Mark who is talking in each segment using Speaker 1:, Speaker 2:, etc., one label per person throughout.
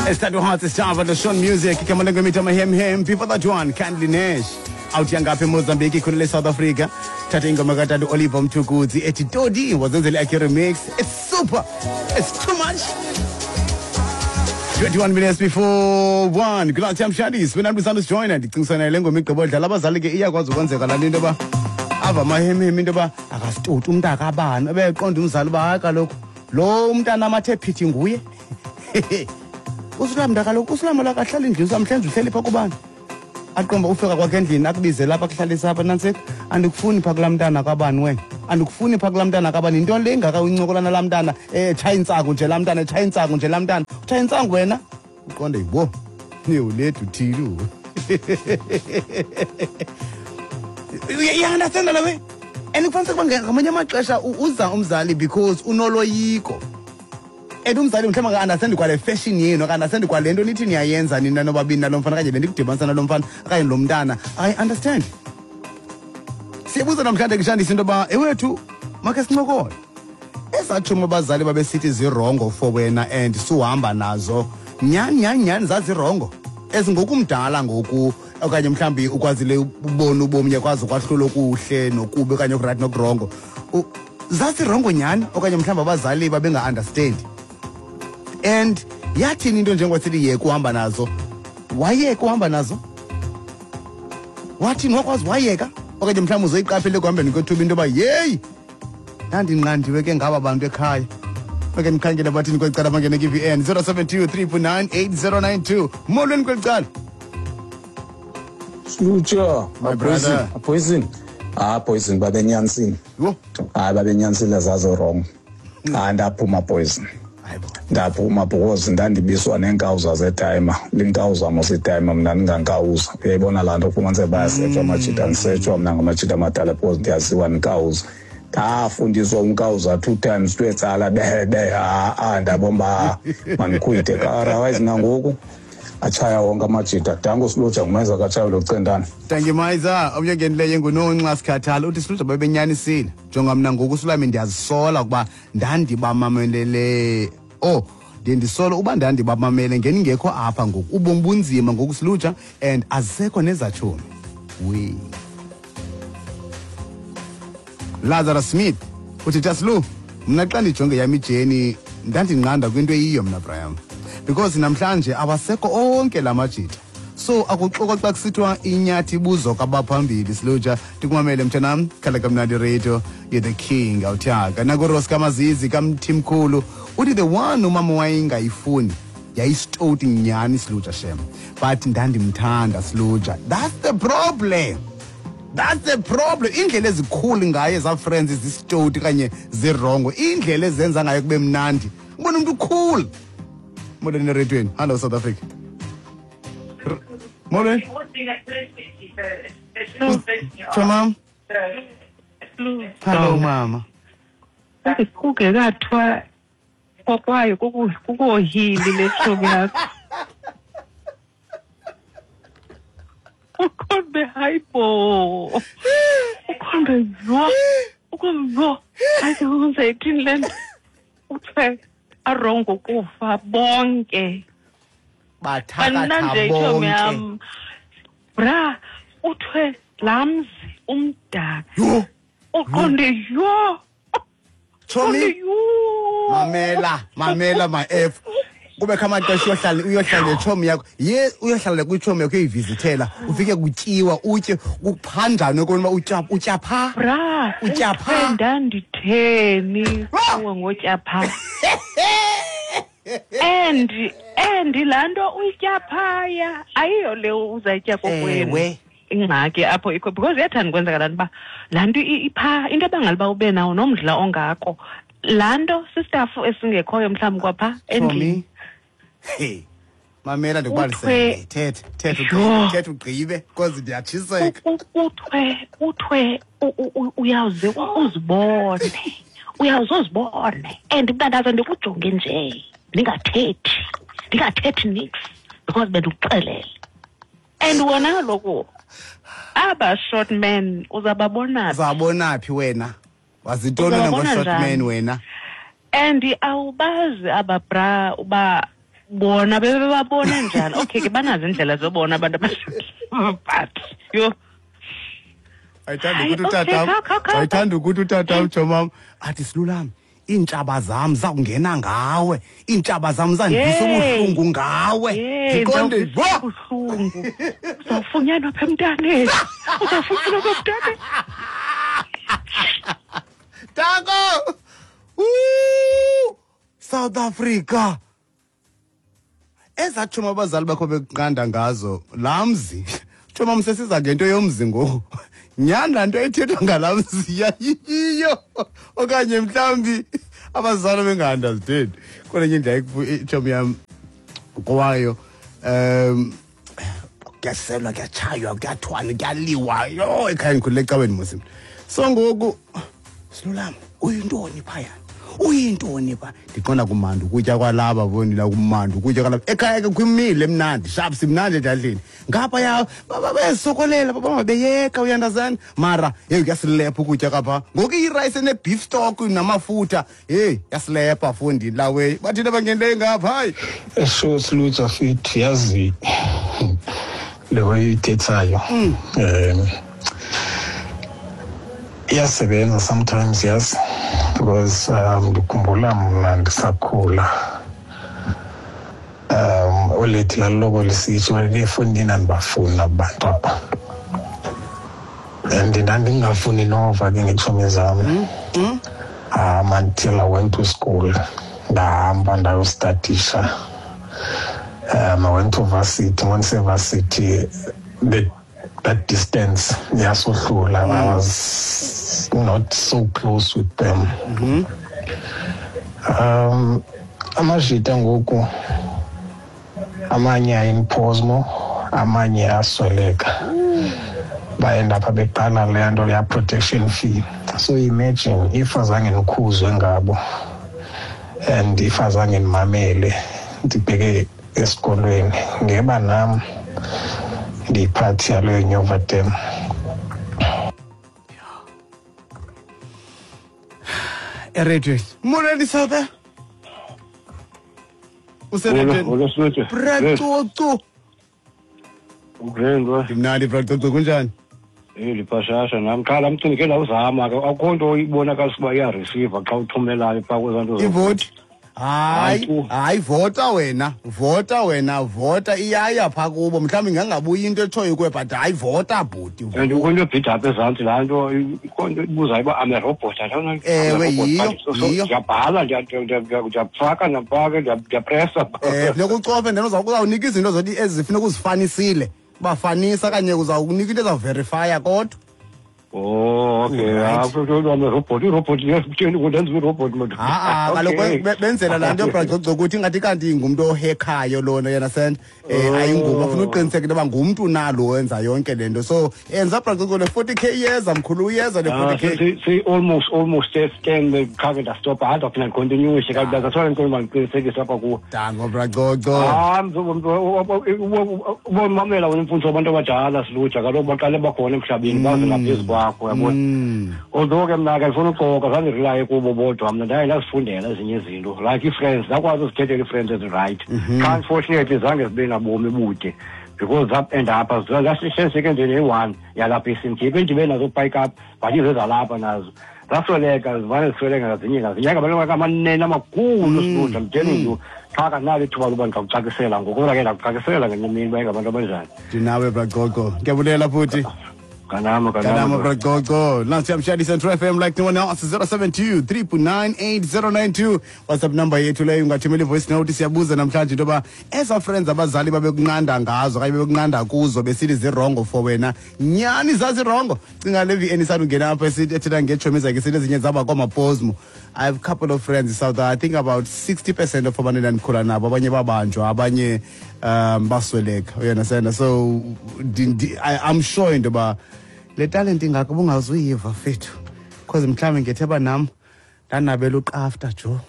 Speaker 1: Esithathu Hearts Java the Sean Music igama lengomita mahemhem before that one Kindly Nash out yangapha eMozambique ikhulele South Africa thatha ingoma katata Oliver Mtukudzi ethi Todi wazenzela yakhe remix. It's super, it's too much. 21 minutes before 1. Good night, Shandis. When I'm join ndicingisana le ngoma igqibo dlala abazali ke iyakwazi ukwenzeka laa nto into yoba ava amahemhem into yoba akasitoti umntu akabani ebeqonda umzali uba hayi kaloku lo umntana amathe phithi nguye usulamnta kaloku usulama lakahlala endlini usamhlenze uhleli phaa kubani aqomba ufika kwakhe endlini akubize lapha akuhlalise apha nantsika andikufuni phaa kulaa mntana kabani wena andikufuni phaa kulaa mntana kabani yinto le ingaka uyincokola nalaa mntana etshaya intsangu nje laa mntana etshaya intsangu nje laa mntana utshaya intsangu wena uqonde yibo newuledu uthile uyaunderstanda la way and kufanele ukuba ngamanye amaxesha uza umzali because unoloyiko and umzali mhlawumbi aka-understandi kwale fashion yenu aka-understandi kwale nto nithi niyayenza nina nobabini nalo mfana okanye bendikudibanisa nalo mfana okanye lo mntana akayi-understand. Siyabuza namhlanje kushandisa into yoba ewethu makhe sincokole ezatshomi abazali babesithi zirongo for wena and suhamba nazo nyhani nyhani nyhani zazirongo ezingokumdala ngoku okanye mhlawumbi ukwazile ubona ubomi uyakwazi ukwahlula okuhle nokubi okanye okurayithi nokurongo zazirongo nyhani okanye mhlawumbi abazali babenga-understandi and yathini into njengoba sithi yeka uhamba nazo wayeka uhamba nazo wathini wakwazi wayeka okanye mhlawumbi uzoyiqaphela ekuhambeni kwethuba into yoba yeyi ndandinqandiwe ke ngaba bantu ekhaya bake ndikhangele bathini kweli cala bangene kwi-vn 072 349 8092 molweni kweli cala.
Speaker 2: Slutsha,
Speaker 1: My brother.
Speaker 2: Poison. Ah, poison babenyanisile.
Speaker 1: Yho.
Speaker 2: Hayi babenyanisile zazo wrong. Hayi ndaphuma poison.
Speaker 1: Hayibo.
Speaker 2: Ndaphuma because ndandibiswa neenkawuza zetayima. Linkawuza mos itayima mna ndingankawuza. Uyayibona laa nto kufumaniseke bayasetshwa amajita, ndisetshwa mna ngamajita amadala because ndiyaziwa ndikawuza. Ndafundiswa unkawuza 2 times twetsala be be ha ndabona uba mandikhwithe. Otherwise nangoku atshaya wonke amajita. Danko Siluja ngumenza katshaya lo Centane.
Speaker 1: Thank you Mayiza. Omnye ongenileyo nguNonxa Sikhathala uthi Siluja babenyanisile. Jonga mna ngoku Sulami ndiyazisola ukuba ndandibamamelele. Oh, ndiye ndisola uba ndandibamamele ngeningekho apha ngoku. Ubomi bunzima ngoku Siluja and azisekho nezatshomi. We. Lazarus Smith uthi Taslu mna xa ndijonge yam ijeni ndandinqanda kwinto eyiyo mna Brian because namhlanje awasekho onke la majita so akuxoka xa kusithiwa inyathi ibuzwa kwabaphambili. Siluja ndikumamele mntanam khala kamnandi radio you're the king awuthaka nakuros kamazizi kamthimkhulu uthi the one umama wayengayifuni yayisitoti nyhani Siluja shem but ndandimthanda Siluja. That's the problem. That's the problem. Indlela ezikhulu ngaye za friends zisitoti kanye zirongo. Indlela ezenza ngayo kube mnandi. Ubona umuntu cool. Molweni eredweni. Hello South Africa. Molweni. Cha mama. Hello mama.
Speaker 3: Kungekathiwa kokwayo kukohili le tshomi yakho. Ukhombe hayibo. Ukhombe yho. Ukhombe yho. Hayi uzayithini le nto? Uthe arongo kufa bonke.
Speaker 1: Bathakatha
Speaker 3: Bananje itshomi
Speaker 1: bonke.
Speaker 3: yam. Bra, uthe laa mzi umdaka.
Speaker 1: Yho.
Speaker 3: Uqonde yho.
Speaker 1: Tshomi.
Speaker 3: Uqonde yho.
Speaker 1: Mamela, mamela my F. Kubekho amaxesha uyohlala netshomi yakho. Ye uyohlala kwitshomi yakho uyivizithela. Ufike kutyiwa utye kuphanjanwe kona uba utya pha.
Speaker 3: Bra,
Speaker 1: Utya pha.
Speaker 3: uthe ndanditheni
Speaker 1: Ah!
Speaker 3: kuwe ngotya pha. And laa nto uyitya phaya ayiyo le uzayitya kokwenu.
Speaker 1: Ewe.
Speaker 3: Ingxaki apho ikho because iyathanda ukwenzeka laa nto uba laa nto ipha into ebangela uba ube nawo nomdla ongako. Laa nto sistafu esingekhoyo mhlawumbi kwapha endlini.
Speaker 1: Tshomi. Hey. Mamela ndikubalisele.
Speaker 3: Uthwe-
Speaker 1: Thetha, thetha
Speaker 3: Yho.
Speaker 1: ugqibe, thetha ugqibe because ndiyatshiseka.
Speaker 3: Uthwe, uyawuze uzibone. Uyawuze uzibone. And mntandazo ndikujonge nje. Ndingathethi. Ndingathethi nix because bendikuxelele. And wona kaloku aba short men uzababona phi?
Speaker 1: Uzabona phi wena? Wazintoni wena
Speaker 3: Uzababona
Speaker 1: ngo-short
Speaker 3: njani?
Speaker 1: man wena?
Speaker 3: And awubazi aba bra uba Bona bebebabona njani? Okay ke, banazo indlela zobona abantu but yho.
Speaker 1: Ayithanda
Speaker 3: Hayi,
Speaker 1: ukuthi
Speaker 3: okay,
Speaker 1: utata,
Speaker 3: kha.
Speaker 1: ayithanda ukuthi utata ujomam athi, "Silulami, iintshaba zam zawungena ngawe, iintshaba zam zandivisa ubuhlungu ngawe."
Speaker 3: Yey,
Speaker 1: Ndiqonde
Speaker 3: ndizawuvisa
Speaker 1: wo
Speaker 3: ubuhlungu, uzawufunyanwa apha emntaneni, uzawufunyanwa apha emntaneni.
Speaker 1: Tanko! Woo! South Africa. Ezaa tshomi abazali bakho bekunqanda ngazo, laa mzi. Tshomi, sesiza ngento yomzi ngoku. Nyhani, laa nto ethethwa ngalaa mzi yayiyiyo okanye mhlawumbi abazali benga-understand. Kwelenye indlela itshomi yam kwayo kuyaselwa, kuyatshaywa, kuyathwana, kuyaliwa. Yho, ekhaya ndikhulele ecaweni mos mna. So ngoku, "Silulama, uyintoni phayana? Uyintoni pha?" Ndiqonda kumandi ukutya kwalapha, fondila, kumandi ukutya kwalapha. Ekhaya ke kwimile emnandi, sharp, simnandi edladleni. Ngapha bezisokolela, bangabeyeka, uyandazana. Mara heyi, kuyasilepha ukutya kapha. Ngoku iyirayisi ene-beef stock namafutha, heyi, yasilepha, fondini laweyi. Bathina bangenileyo ngapha, hayi.
Speaker 4: Esho silutsha fit, yazi le way uyithethayo iyasebenza sometimes, yazi, because ndikhumbula mna ndisakhula, olethi laloko lisitsho efundini, andibafuni abantu aba, and ndandingafuni nova ke ngeetshomi zam until I went to school, ndahamba ndayostadisha. I went to varsity. Once varsity, that distance yasohlula. I was not so close with them. Amajita ngoku amanye ayimphosmo, amanye asweleka, bayenda apha beqala leya nto leya protection fee. So imagine if azange ndikhuzwe ngabo and if azange ndimamele, ndibheke esikolweni, ngeba nam ndiyiphathi yaleyo Nyova Dam.
Speaker 1: Eredweni, molweni South, useredweni.
Speaker 5: Molo Silutshe.
Speaker 1: Bracucu.
Speaker 5: Ugrand.
Speaker 1: Ndimnandi, Bracucu, kunjani?
Speaker 5: Eh, liphashasha nam qha laa mcimbi ke ndawuzama ke, akukho nto ibonakalisa uba iyareceiva xa uthumelayo phaa kwezaa nto.
Speaker 1: Ivoti, hayi.
Speaker 5: Hayi, tu.
Speaker 1: Hayi, vota wena, vota wena, vota, iyaya phaa kubo. Mhlawumbi ingangabuyi into etshoyo kuwe, but hayi, vota bhuti.
Speaker 5: And kukho into ebhida apha ezantsi, laa nto ikho nto ibuzayo uba am a robot.
Speaker 1: Ewe, yiyo, yiyo.
Speaker 5: Ndiyabhala, ndiyafaka, ndiyafaka, ndiyapresa.
Speaker 1: Funeka ucofe, then uzawunika izinto zoti ezifuneka uzifanisile, bafanisa kanye, uzawunika into ezawuverifya kodwa.
Speaker 5: Oh, okay.
Speaker 1: Right.
Speaker 5: Am a robot, irobot kutheni ndenziwa irobot madoda?
Speaker 1: Ha-a, kaloku benzela laa nto, Bracoco, ukuthi ingathi kanti ngumntu ohekhayo lona yena send ayingubo. Afuna uqiniseka into yoba ngumntu nalo wenza yonke le nto. So enza, Bracoco, le 40K iyeza, mkhulu, uyeza le 40K.
Speaker 5: Almost 10 khake ndastopa, hayi, ndaphinda ndicontinuishe kaloku. That's why ndicela uba ndiqinisekise apha kuwo.
Speaker 1: Dango, Bracoco.
Speaker 5: Ah, ubomamela wena imfundiso abantu abadala, silutsha, kaloku baqale bakhona emhlabeni, baze ngaphezu kwakho, uyabona. Although ke mna ke ndifuna uxoka, zange ndirilaye kubo bodwa, mna ndaye ndazifundela ezinye izinto, like ii-friends, ndakwazi uzikhethela ii-friends ezirayithi. Qha unfortunately zange zibe nabomi bude because zap-end up zasisenseke nje neyi-one yalapha eSimkhiphe endibe nazo pike up, but izezalapha nazo zasweleka, zivane zisweleka ngazinye ngazinye ngabantu amanene amakhulu, silutsha. I'm telling you, qha kanalo ithuba loba ndingakucacisela ngoku, kodwa ke ndakucacisela ngenye imini uba ingabantu abanjani.
Speaker 1: Ndinawe, Bracoco, ndiyabulela futhi.
Speaker 5: Kanama.
Speaker 1: Kanama.
Speaker 5: Kanama.
Speaker 1: Bracoco. Nansi yamshadisa True FM like no one else. 072 398 WhatsApp number yethu leyo, ungathumela ivoice note. Siyabuza namhlanje into yoba eza friends abazali babekunqanda ngazo okanye bebekunqanda kuzo besithi zirongo for wena, nyhani zazirongo? Cinga le VN isandungena apha esithi ethetha ngeetshomi zakhe, sithi ezinye zaba kwamaposmo. I have a couple of friends in South, I think about 60% of abantu endandikhula nabo, abanye babanjwa, abanye basweleka, you understand? So I'm sure into yoba le talent ingako ubungazuyiva fethu, because mhlawumbi ngetheba nam ndanabela uqafta jo.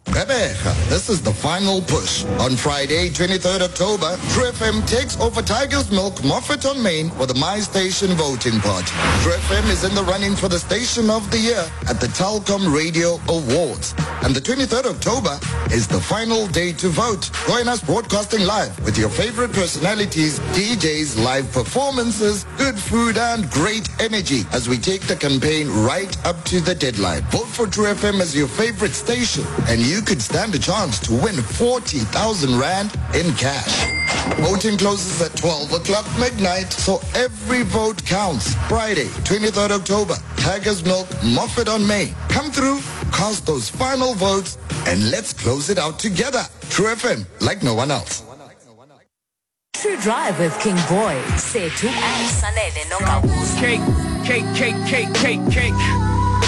Speaker 6: Gqeberha. This is the final push. On Friday, 23rd October, True FM takes over Tiger's Milk Moffat on Main for the My Station voting party. True FM is in the running for the Station of the Year at the Telkom Radio Awards. And the 23rd October is the final day to vote. Join us broadcasting live with your favorite personalities, DJs, live performances, good food and great energy as we take the campaign right up to the deadline. Vote for True FM as your favorite station and you could stand a chance to win 40,000 Rand in cash. Voting closes at 12 o'clock midnight, so every vote counts. Friday, 23rd October, Tiger's Milk, Moffat on May. Come through, cast those final votes, and let's close it out together. True FM, like no one else.
Speaker 7: True Drive with King Boy, Sethu and Sanele Nongawuza.
Speaker 8: Cake, cake, cake, cake, cake, cake.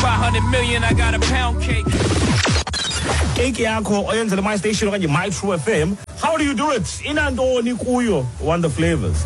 Speaker 8: 500 million, I got a pound cake.
Speaker 9: Cake yakho oyenzele My Station okanye My True FM. How do you do it? Inantoni kuyo? Want the flavors.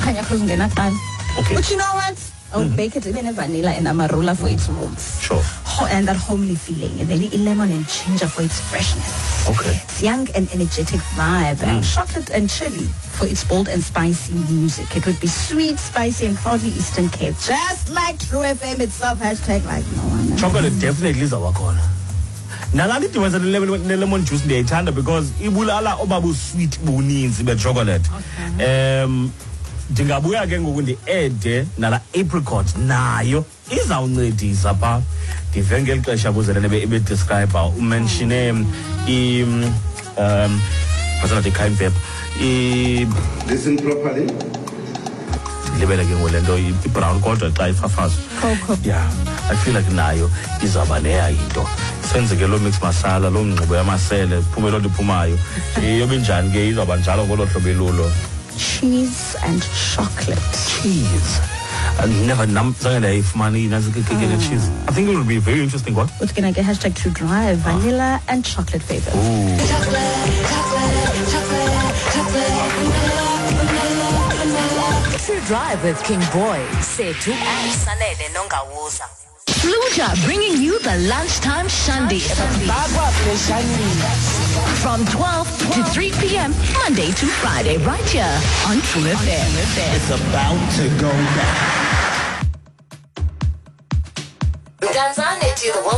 Speaker 10: Khanya kuzungena kuqala.
Speaker 9: Okay.
Speaker 10: But you know what? I would bake it in a vanilla and amarula for its warmth.
Speaker 9: Sure.
Speaker 10: And that homely feeling. And then lemon and ginger for its freshness.
Speaker 9: Okay.
Speaker 10: It's young and energetic vibe. And chocolate and chili for its bold and spicy music. It would be sweet, spicy, and proudly Eastern Cape. Just like True FM itself. Hashtag like no one else.
Speaker 9: Chocolate definitely izawuba nalaa nto idibanisa ne-lemon juice ndiyayithanda because ibulala oba sweet buninzi be-chocolate. Ndingabuya ke ngoku ndi-ede nala apricot nayo izawuncedisa phaa. Ndive ngeli xesha kuzelele ebedescribe umenshine masangathi i-cayenne pepper.
Speaker 1: Listen properly.
Speaker 9: Ndilibele ke ngoku le nto i-brown kodwa xa ifafazwa. Yeah, I feel like nayo izawuba leya yinto. Senze ke loo mix masala, loo ngxubo yamasele, kuphume loo nto iphumayo. Iyobe njani ke izawuba njalo ngolo hlobo ilulo.
Speaker 10: Cheese and chocolate.
Speaker 9: Cheese. I never zange ndayifumana inantsi keke cheese. I think it would be very interesting what?
Speaker 10: It's gonna get hashtag to drive vanilla and chocolate flavors.
Speaker 9: Ooh.
Speaker 7: Chocolate, chocolate, chocolate, vanilla, vanilla. True Drive with King Boy, Sethu and Sanele Nongawuza. Fluja bringing you the lunchtime shandy. From 12 to 3 p.m. Monday to Friday, right here on True FM.
Speaker 1: It's about to go down.
Speaker 7: Mdantsane to the world.